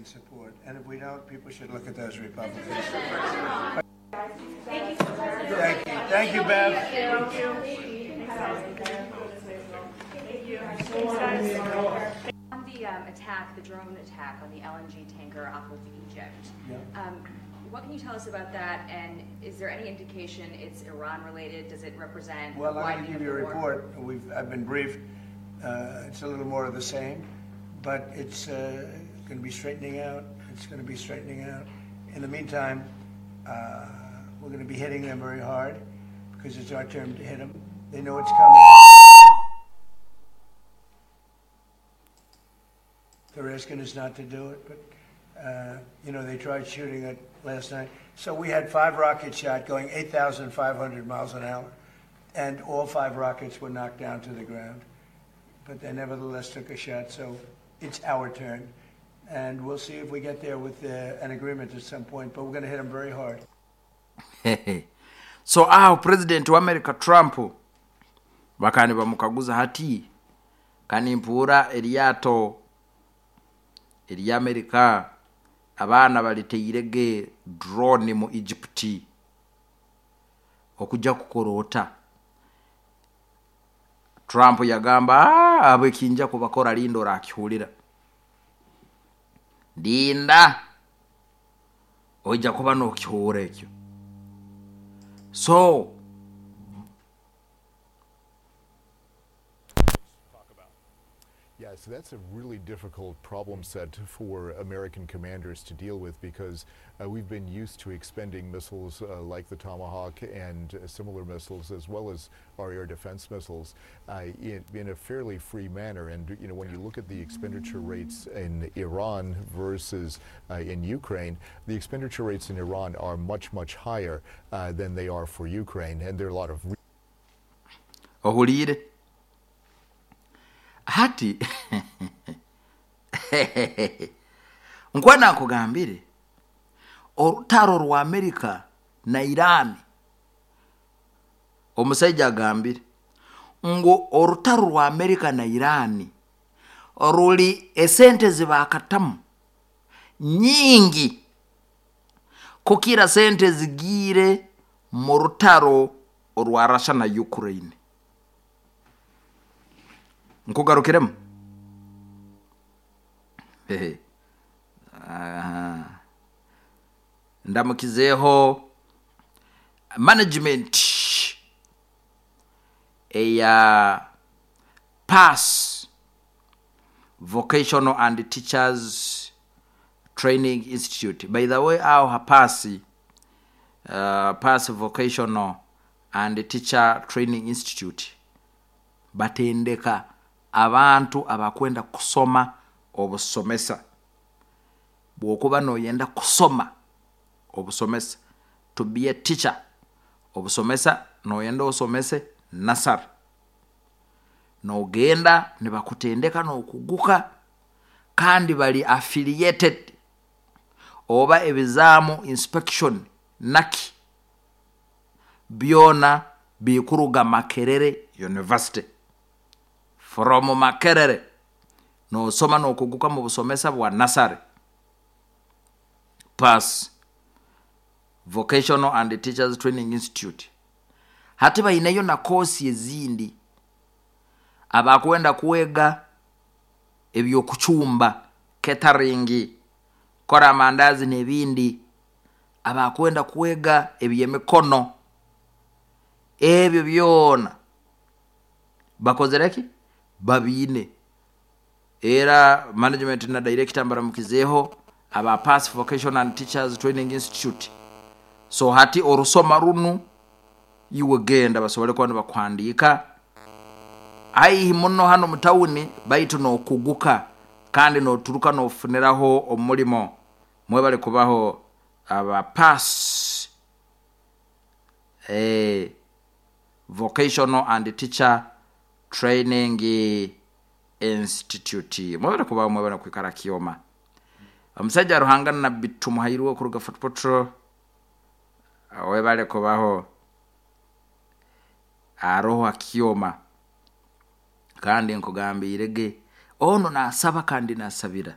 Support. And if we don't, people should look at those Republicans. Thank you, President. Thank you. Thank you, Bev. Thank you. On the attack, the drone attack on the LNG tanker off of Egypt, what can you tell us about that? And is there any indication it's Iran related? Does it represent? Well, a I'm going to widening give of you a the war? report. I've been briefed. It's a little more of the same, but it's going to be straightening out. It's going to be straightening out. In the meantime, we're going to be hitting them very hard because it's our turn to hit them. They know it's coming. They're asking us not to do it, but they tried shooting it last night. So we had 5 rockets shot going 8,500 miles an hour, and all 5 rockets were knocked down to the ground. But they nevertheless took a shot, so it's our turn. And we'll see if we get there with an agreement at some point, but we're going to hit them very hard. So aho president wa America Trump bakaba bamukaguza hati kanimpuura eryato ery'Amerika abaana baliteirege drone mu Egypt okujja kukora ota. Trump yagamba, abo ekinja kubakora lindo rakihulira linda oija kuba nokihura ekyo. So Yeah, so that's a really difficult problem set for American commanders to deal with because we've been used to expending missiles like the Tomahawk and similar missiles, as well as our air defense missiles, in a fairly free manner. And when you look at the expenditure rates in Iran versus in Ukraine, the expenditure rates in Iran are much, much higher than they are for Ukraine, and there are a lot of Ohulire. Hati nkwana nkugambire orutaro rwa Amerika na Iran, omusajja agambire ngo orutaro rwa Amerika na Iran ruli esente zibakatamu nyingi kukira sente zigire mu rutaro rwa Russia na Ukraine. Nkugarukiremu. Hehe. Aha. Ndamukizeho management eya PASS Vocational and Teachers Training Institute. By the way, aho hapasi PASS Vocational and Teacher Training Institute batendeka abantu abakwenda kusoma obusomesa. Bwokuba noyenda kusoma obusomesa, to be a teacher obusomesa, noyenda osomese nasar, nogenda nibakutendeka nokuguka, kandi bali affiliated oba ebizamu inspection naki byona bikuruga Makerere University. From Makerere nosoma nokuguka mu busomesa bwa nasare. PASS Vocational and Teachers Training Institute. Hati bainayo na kosi ezindi abakwenda kuwega ebyokuchumba, catering, kora amandazi n'ebindi, abakwenda kuwega ebyemikono, ebyo byona bakozereki babiine. Era management na director mbaramukizeho aba PASS Vocational and Teachers Training Institute. So hati orusoma runu iwe genda basobole kuba nibakuhandiika aihi muno hano mutawuni, baitu nokuguka kandi noturuka nofuniraho omulimo. Mwebale kubaho aba PASS Vocational and Teacher Training Institute. Mwebale kubaho, mwebale kwikara kioma. Omusajja Ruhanga Nabbi Tumuhairwe okuruga Fort Portal, webale kubaho aroho akioma. Kandi nkugambirege ono nasaba kandi nasabira.